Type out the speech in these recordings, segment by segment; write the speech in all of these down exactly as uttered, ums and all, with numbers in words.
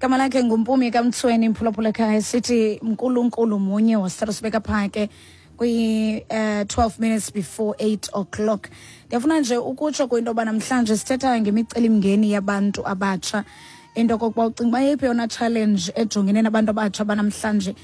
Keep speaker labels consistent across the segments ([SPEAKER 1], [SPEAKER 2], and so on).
[SPEAKER 1] Igama lakhe nguMpumi kaMthweni, mphulaphula ekhaya, sithi mnkulunkulu munye wasithatha sibeka phaa ke kwi uh, twelve minutes before eight o'clock. Ndiyafuna nje ukutsho kwinto yoba namhlanje sithetha ngemicelimngeni yabantu abatsha, into okokuba ucinga uba yeyiphi yona challenge ejongene nabantu abatsha banamhlanje,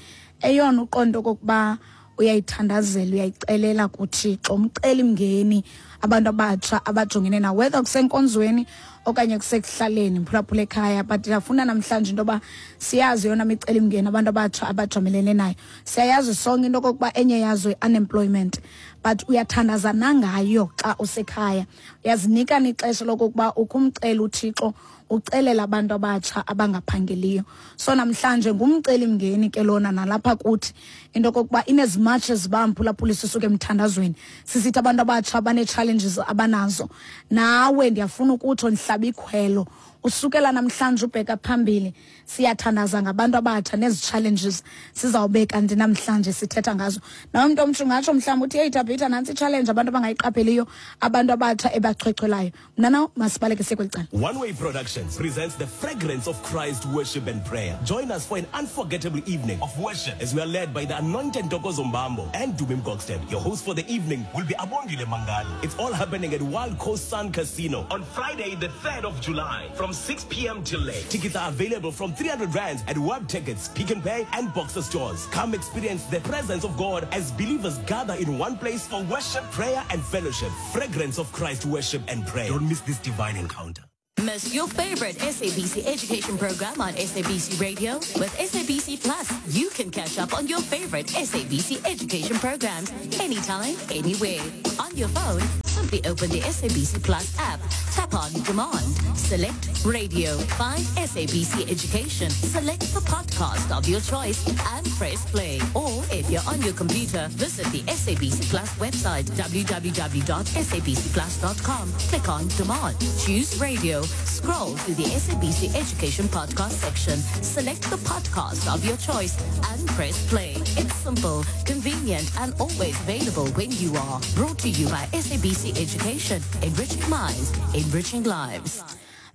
[SPEAKER 1] eyona uqonda okokuba uyayithandazela, uyayicelela kuThixo, umcelimngeni abantu abatsha abajongene nawo, whether kusenkonzweni okanye kusekuhlaleni, mphulaphula ekhaya. But ndiyafuna namhlanje into yoba siyazi yona micelimngeni abantu abatsha abajamelene nayo. Siyayazi sonke into okokuba enye yazo i-unemployment, but uyathandaza nangayo xa usekhaya, uyazinika ixesha lokokuba ukumcela uThixo, ucelela abantu abatsha abangaphangeliyo. So namhlanje ngumcelimngeni ke lona nalapha kuthi, into okokuba in as much as bamphulaphula sisuke emthandazweni sisithi abantu abatsha banee-challenges abanazo, nawe ndiyafuna ukutsho ndihlaba ikhwelo usukela namhlanje ubheka phambili, siyathandaza ngabantu abatsha nezi challenges sizawube kanti namhlanje sithetha ngazo. Nawe mntu omtsha ungatsho mhlawumbi uthi, "Hey Tabitha, nantsi i-challenge abantu abangayiqapheliyo, abantu abatsha ebachwechwelayo." Mna naw masibaleke siye kweli cala.
[SPEAKER 2] One Way Productions presents the Fragrance of Christ Worship and Prayer. Join us for an unforgettable evening of worship as we are led by the anointed Ntokozo Mbambo and Dumi Mkokstad. Your host for the evening will be Abongile Mangali. It's all happening at Wild Coast Sun Casino on Friday, the third of July from six p m till late. Tickets are available from three hundred rands at Web Tickets, Pick and Pay, and Boxer stores. Come experience the presence of God as believers gather in one place for worship, prayer, and fellowship. Fragrance of Christ Worship and Prayer. Don't miss this divine encounter.
[SPEAKER 3] Miss your favorite S A B C education program on S A B C Radio? With S A B C Plus, you can catch up on your favorite S A B C education programs anytime, anywhere. On your phone, simply open the S A B C Plus app, tap on Demand, select Radio, find S A B C Education, select the podcast of your choice and press play. Or if you're on your computer, visit the S A B C Plus website, w w w dot S A B C plus dot com. Click on Demand, choose Radio, scroll to the S A B C Education podcast section, select the podcast of your choice and press play. It's simple, convenient and always available when you are. Brought to you by S A B C Education, enriching minds, enriching lives.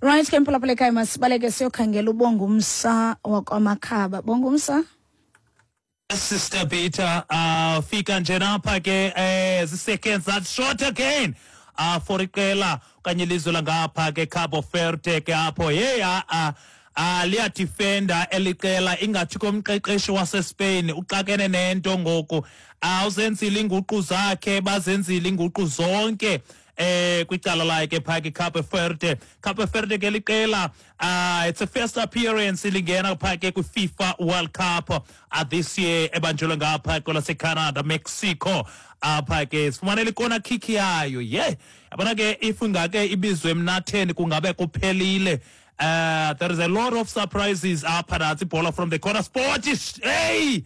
[SPEAKER 1] Right ke, mphulaphula ekhaya, masibaleke siyokhangela uBongumsa wakwaMakhaba. Bongumsa.
[SPEAKER 4] Sister Peter, uh fika nje napha ke eh seconds that short again uh for iqela okanye ilizwe langapha ke Cabo Verde ke apho. Hey, a a ah liyadefenda eliqela, ingathi komqeqeshi waseSpain uxakene nento ngoku. Awuzenzile inguqu zakhe, bazenzile inguqu zonke eh kwicala lakhe phaa ke Cape Verde. Cape Verde ke liqela, uh it's a first appearance lingena phaa ke kwi-FIFA World Cup uh, this year ebanjelwe ngapha kwelase-Canada, Mexico. Apha ke sifumanele ikona kick yayo ye, yabona ke, if ingake ibizwe emnatheni kungabe kuphelile. Uh, there is a lot of surprises apha. Natsi ibhola from the corner spot. Hey,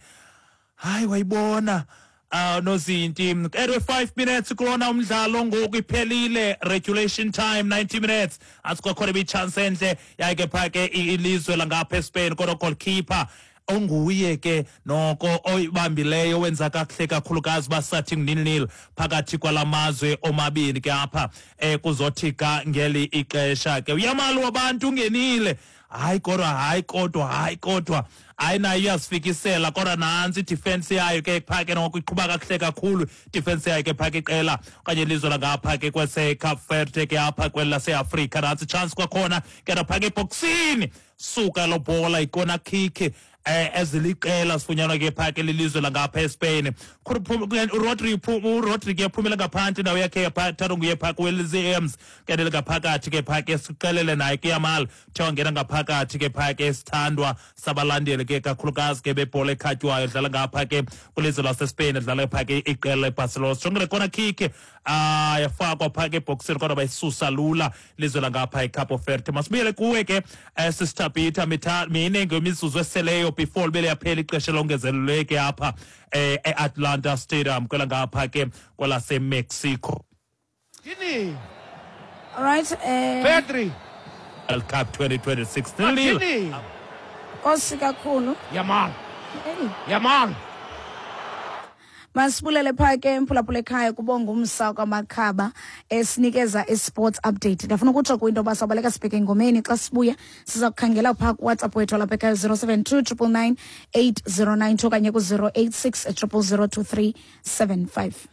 [SPEAKER 4] hayi, wayibona uh nozinti. Anyway, five minutes kulona umdlalo ngoku, iphelile regulation time, ninety minutes. Asikwakhona ibi-chance enhle yayike phaa ke ilizwe langapha eSpain, kodwa goalkeeper onguye ke noko oyibambileyo wenza kakuhle kakhulukazi. Basathi nil nil phakathi kwalamazwe omabini ke apha eh kuzothi ga ngeli ixesha ke uyamali wabantu ungenile. Hayi kodwa, hayi kodwa, hayi kodwa, hayi nayo iyazifikisela, kodwa nantsi idefense yayo ke phaa ke noko iqhuba kakuhle kakhulu idefense yayo ke phaa ke iqela okanye ilizwe langapha ke kwese-Cape Verde ke apha kweli laseAfrika. Nantsi chance kwakhona ke naphaa ke ebhoksini, suka lo bhola, ikona kick eh eziliqela sifunyanwa ke phaa ke lilizwe langapha eSpain. uRodri uRodri ke uphumela ngaphandle, indawo yakhe thathwa nguye phaa kuWilliams, kenele ngaphakathi ke phaa ke siqelele naye ke Yamal, kuthiwa ngena ngaphakathi ke phaa ke sithandwa sabalandeli ke kakhulukazi ke bebhola ekhatywayo, dlala ngapha ke kwilizwe laseSpain, dlala phaa ke iqela leBarcelona. Sijongele kona kick, ah yafakwa phaa ke ebhoksini kodwa bayisusa lula ilizwe langapha eCape Verde. Masibuyele kuwe ke eh, Sister Peter, mine ngemizuzu eseleyo before libe liyaphela ixesha elongezeleleke apha eh, e-Atlanta Stadium kwela ngapha ke kwelaseMexico.
[SPEAKER 5] Gini.
[SPEAKER 1] All right eh
[SPEAKER 5] Pedri.
[SPEAKER 4] World Cup twenty twenty-six, nil nil.
[SPEAKER 5] Gini.
[SPEAKER 1] Nkosi kakhulu.
[SPEAKER 5] Yamal.
[SPEAKER 1] Hey.
[SPEAKER 5] Yamal.
[SPEAKER 1] Masibulele phaa ke, mphulaphula ekhaya, kubonga umsa kwamakhaba esinikeza i-sports update. Ndiyafuna ukutsho kwinto yoba sawubaleka sibheke engomeni. Xa sibuya siza kukhangela phaa kuWhatsApp wethu walapha ekhaya, zero seven two triple nine eight zero nine two okanye ku-zero eight six triple zero two three seven five.